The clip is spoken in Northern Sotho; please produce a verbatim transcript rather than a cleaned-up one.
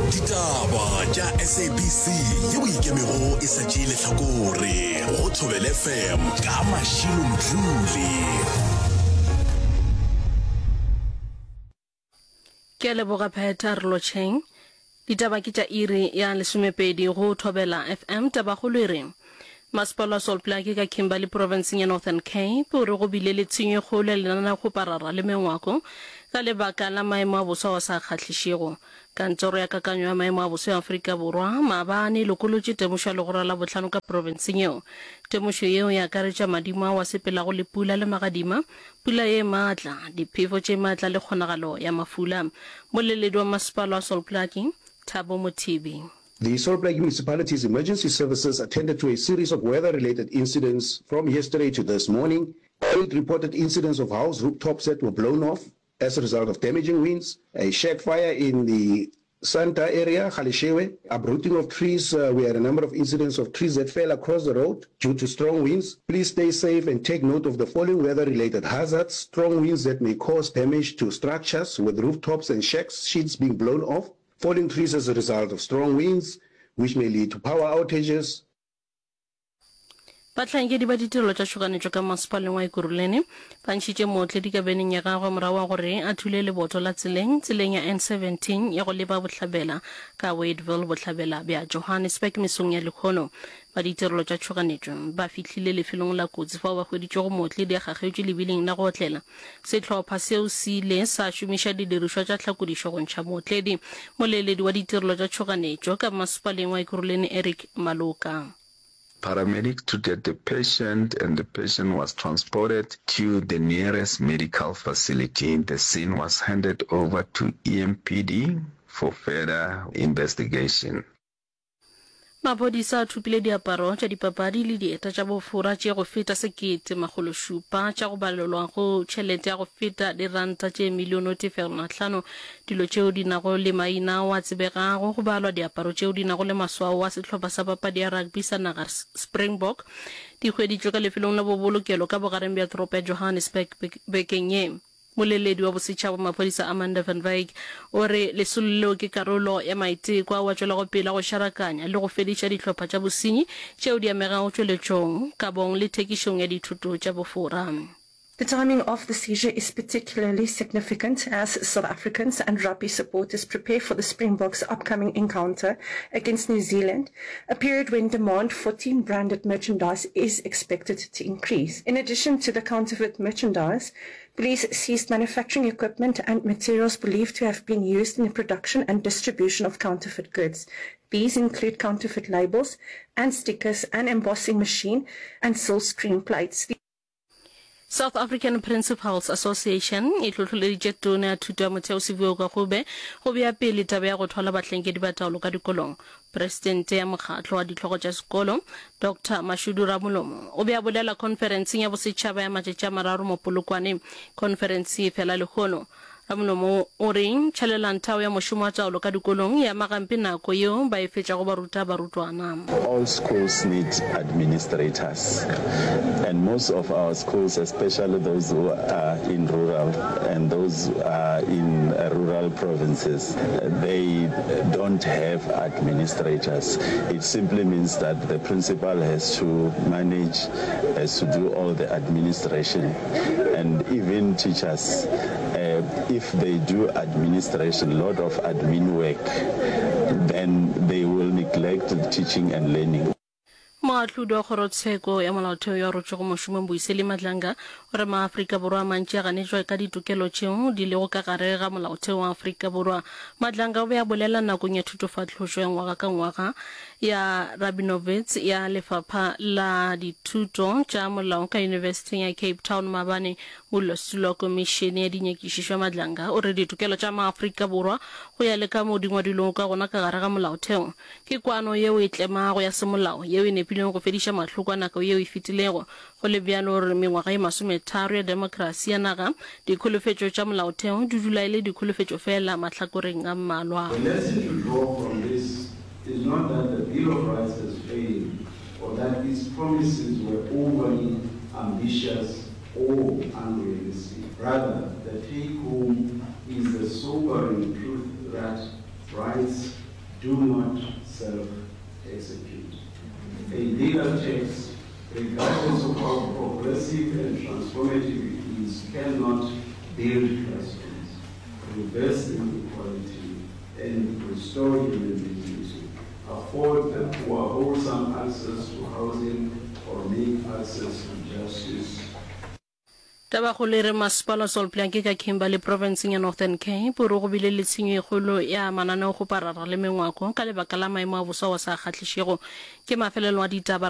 Ditaba tša S A B C yeo e ikemego e sa tšee lehlakore go Thobela F M ka Mashilo Mdluli. Ke a leboga Phetha re lotšheng. Ditaba ke tša iri ya lesomepedi go Thobela F M. Tabakgolo e re Masepala wa Sol Plaatje ka Kimberley profenseng ya Northern Cape o re go bile le tshenyo e kgolo ya lenaneokgoparara le mengwako ka lebaka la maemo a boso ao a sa kgahlišego. Kantoro ya Kakanyo ya Maemo a Boso ya Afrika Borwa maabane e lokolotše temošo ya legora la bohlano ka profenseng yeo. Temošo yeo e akaretša madimo ao a sepelago le pula le magadima, pula ye maatla, diphefo tše maatla le kgonagalo ya mafula. Moleledi wa masepala wa Sol Plaatje, Thabo Mothibi. The Sol Plaatje Municipality's emergency services attended to a series of weather-related incidents from yesterday to this morning. Eight reported incidents of house rooftops that were blown off as a result of damaging winds, a shack fire in the Santa area, Galeshewe, uprooting of trees. Uh, we had a number of incidents of trees that fell across the road due to strong winds. Please stay safe and take note of the following weather-related hazards. Strong winds that may cause damage to structures with rooftops and shacks, sheets being blown off. Falling trees as a result of strong winds, which may lead to power outages. Bahlankedi ba ditirelo tša tšhoganetšo ka masepaleng wa Ekurhuleni ba ntšhitše mootledi ka beneng ya gagwe morago ga gore a thule leboto la tseleng tseleng ya N seventeen ya go leba bohlabela ka Wadeville bohlabela bja Johannesburg mesong ya lehono. Ba ditirelo tša tšhoganetšo ba fihlile lefelong la kotsi fao ba hweditšego mootledi a kgakgetšwe lebiling la go otlela. Sehlopha seo se ile sa šomiša didirišwa tša tlhakodišo go ntšha mootledi. Moleledi wa ditirelo tša tšhoganetšo ka masepaleng wa Ekurhuleni Eric Maloka. Paramedics treated the patient and the patient was transported to the nearest medical facility. The scene was handed over to E M P D for further investigation. Maphodisa a thopile diaparo tša dipapadi le dieta tša bofora tše go feta sekete makgolo šupa tša go balelwa go tšhelete ya go feta diranta tše milione o tee fegelwana hlano. Dilo tšeo di nago le maina ao a tsebegago go balwa diaparo tšeo di nago le maswao a sehlopha sa papadi ya rugby sa naga Springbok di hweditšwe ka lefelong la bobolokelo ka bogareng bja toropo ya Johannesburg bekeng ye. Moleledi wa bosetšhaba wa maphodisa Amanda van Wyk o re lesolo leo ke karolo ya maiteko ao a tšwelago pele a go šarakanya le go fediša dihlopha tša bosenyi tšeo di amegago tšweletšong, kabong le thekišong ya dithoto tša bofora. The timing of the seizure is particularly significant as South Africans and rugby supporters prepare for the Springboks' upcoming encounter against New Zealand, a period when demand for team-branded merchandise is expected to increase. In addition to the counterfeit merchandise, police seized manufacturing equipment and materials believed to have been used in the production and distribution of counterfeit goods. These include counterfeit labels and stickers, an embossing machine, and silk screen plates. South African Principals Association e hlohloleditše Tona ya Thuto ya Motheo Siviwe Gwarube go bea pele taba ya go thwala bahlankedi ba taolo ka dikolong. Presidente ya mokgatlo wa dihlogo tša sekolo, Doctor Mashudu Ramolomo, o be a bolela khonferenseng ya bosetšhaba ya matšatši a mararo mo Polokwane. Khonferense e fela lehono. Ramolomo o re tšhalelanthao ya mošomo wa taolo ka dikolong e ama gampe nako yeo ba e fetšago ba ruta barutwana. All schools need administrators and most of our schools, especially those who are in rural and those are in rural provinces, they don't have administrators. It simply means that the principal has to manage, has to do all the administration, and even teachers, uh, if they do administration, lot of admin work, then they will neglect the teaching and learning. Moahlodi wa kgorotsheko ya molaotheo yo a rotšego mošomong Mbuyiseli Madlanga o re maAfrika Borwa a mantši a ganetšwa ka ditokelo tšeo di lego ka gare ga molaotheo wa Afrika Borwa. Madlanga o be a bolela nakong ya thutofahlošo ya ngwaga ka ngwaga ya Rabinowitz ya Lefapha la Dithuto tša Molao ka Yunibesithing ya Cape Town maabane. Modulasetulo wa Komišene ya Dinyakišišo ya Madlanga o re ditokelo tša maAfrika Borwa go ya le ka moo di ngwadilwego ka gona ka gare ga molaotheo ke kwano yeo e tlemago ya semolao yeo e nepilego go fediša mahloko a nako yeo e fetilego. Go le bjalo o re mengwaga ye masometharo ya demokrasi ya naga, dikholofetšo tša molaotheo di dula e le dikholofetšo feela mahlakoreng a mmalwa. The lesson to draw from this is not that the Bill of Rights has failed or that its promises were overly ambitious or unrealistic. Rather, the take-home is the sobering truth that rights do not self-execute. A legal text, regardless of how progressive and transformative it is, cannot build classrooms, reverse inequality, and restore human dignity, afford the poor wholesome access to housing, or make access to justice. Tabakgolo e re Masepala wa Solplanke ka Kimberley profenseng ya Northern Cape o re go bile le tshenyo e kgolo ya mananeogoparara le mengwako ka lebaka la maemo a boso ao a sa kgahlišego. Ke mafelelo a ditaba. Re